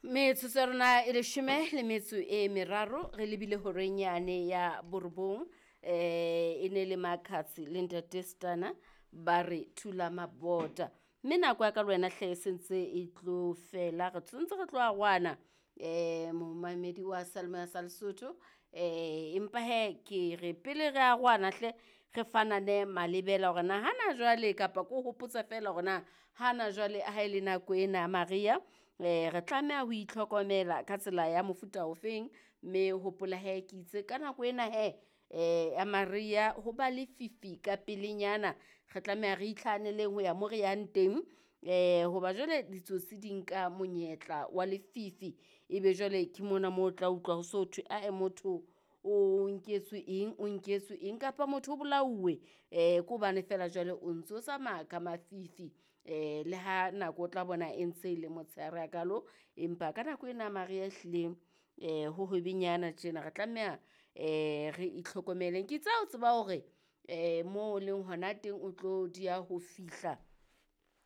Metsotso ya rona e leshome le metso e meraro re lebile horeng yane ya borobong. E ne le Makhadzi le Ntate Stana ba re thula mabota. Mme nako ya ka le wena hle e sentse e tlo fela, re tshwantse re tlo arohana momamedi wa Seyalemoya sa Lesotho. Empa hee ke re pele re arohana hle re fanane malebela hore na hana jwale kapa ko hopotsa feela hore na hana jwale ha e le nako ena ya mariha re tlameha ho itlhokomela ka tsela ya mofuta ofeng. Mme hopola hee ke itse ka nako ena hee ya mariha ho ba lefifi ka pelenyana, re tlameha re itlhahaneleng ho ya mo re yang teng. Hoba jwale ditsotsi di nka monyetla wa lefifi, ebe jwale ke mona mo o tla utlwa ho so thwe ae motho o nketswe eng, o nketswe eng kapa motho o bolauwe. Ke hobane feela jwale o ntso tsamaya ka mafifi le ha nako o tla bona e ntse e le motshehare hakalo, empa ka nako ena ya mariha ehlile ho hobenyana tjena re tlameha re itlhokomeleng. Ke itse ha o tseba hore mo o leng hona teng o tlo dieha ho fihla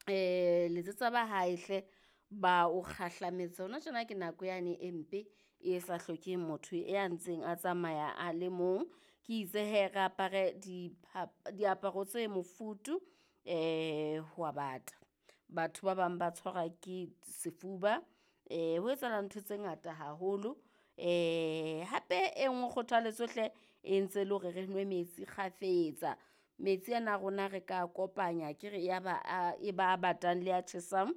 letsetsa ba hae hle ba o kgahlametse. Hona tjena ke nako yane e mpe e sa hlokeng motho ya ntseng a tsamaya a le mong. Ke itse hee re apare diaparo tse mofuthu ho a bata. Batho ba bang ba tshwarwa ke sefuba ho etsahala ntho tse ngata haholo. Hape e nngwe kgothaletso hle e ntse le hore re nwe metsi kgafetsa. Metsi ana a rona re ka kopanya akere ya ba a e ba a batang le a tjhesang.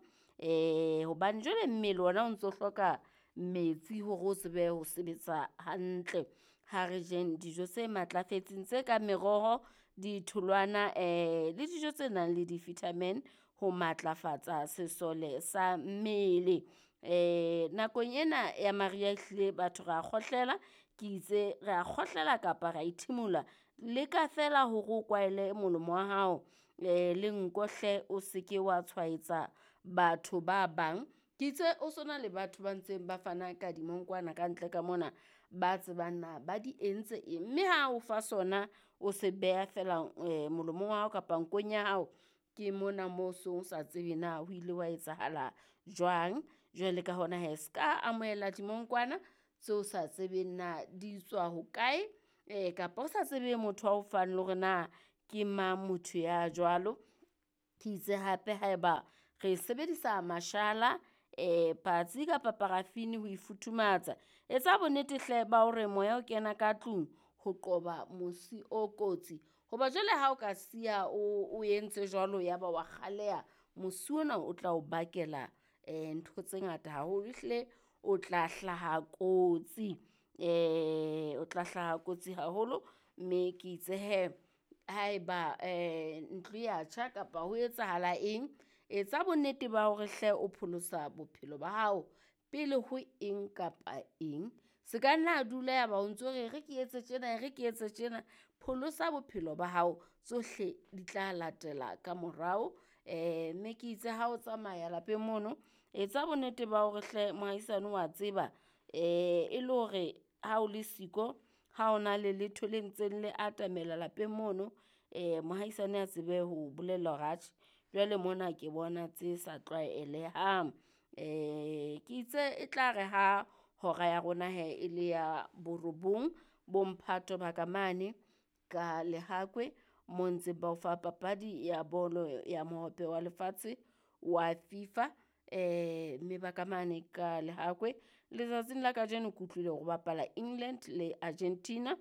Hobane jwale mmele ona o ntso hloka metsi hore o tsebe ho sebetsa hantle. Ha re jeng dijo tse matlafetseng tse kang meroho, ditholwana le dijo tse nang le di-vitamin ho matlafatsa sesole sa mmele. Nakong ena ya mariha ehlile batho ra kgohlela, ke itse re a kgohlela kapa ra ithimula. Leka feela hore o kwahele molomo wa hao le nko hle o seke wa tshwaetsa batho ba bang. Ke itse ho sona le batho ba ntseng ba fana ka dimongkwana ka ntle ka mona, ba tsebang na ba di entse eng. Mme ha o fa sona o se beha feela molomong wa hao kapa nkong ya hao, ke mona mo song sa tsebe na ho ile hwa etsahala jwang. Jwale ka hona hee ska amohela dimongkwana tseo sa tsebeng na di tswa hokae kapa o sa tsebe motho ao fang le hore na ke mang motho ya jwalo. Ke itse hape haeba re sebedisa mashala patsi kapa paraffin ho ifuthumatsa, etsa bonnete hle ba hore moya o kena ka tlung ho qoba mosi o kotsi. Hoba jwale ha o ka siya o entse jwalo ya ba wa kgaleha, mosi ona o tla o bakela ntho tse ngata haholo. Ehlile o tla hlaha kotsi o tla hlaha kotsi haholo, mme ke itse hee haeba ntlo ya tjha kapa ho etsahala eng, etsa bonnete ba hore hle o pholosa bophelo ba hao pele ho eng kapa eng. Se ka nna dula ya ba o ntso re e re ke etse tjena, e re ke etse tjena. Pholosa bophelo ba hao, tsohle di tla latela ka morao. Mme ke itse ha o tsamaya lapeng mono, etsa bonnete ba hore hle mohaisane wa tseba e le hore ha o le siko, ha o na le letho le ntseng le atamela lapeng mono mohaisane a tsebe ho bolella hore atjhe jwale mona ke bona tse sa tlwaelehang. Ke itse e tla re ha hora ya rona hee e le ya borobong bo mphato ba ka mane ka Lehakwe mo ntseng ba o fa papadi ya bolo ya mohope wa lefatshe wa FIFA. Mme ba ka mane ka Lehakwe letsatsing la kajeno ke utlwile hore ho bapala England le Argentina.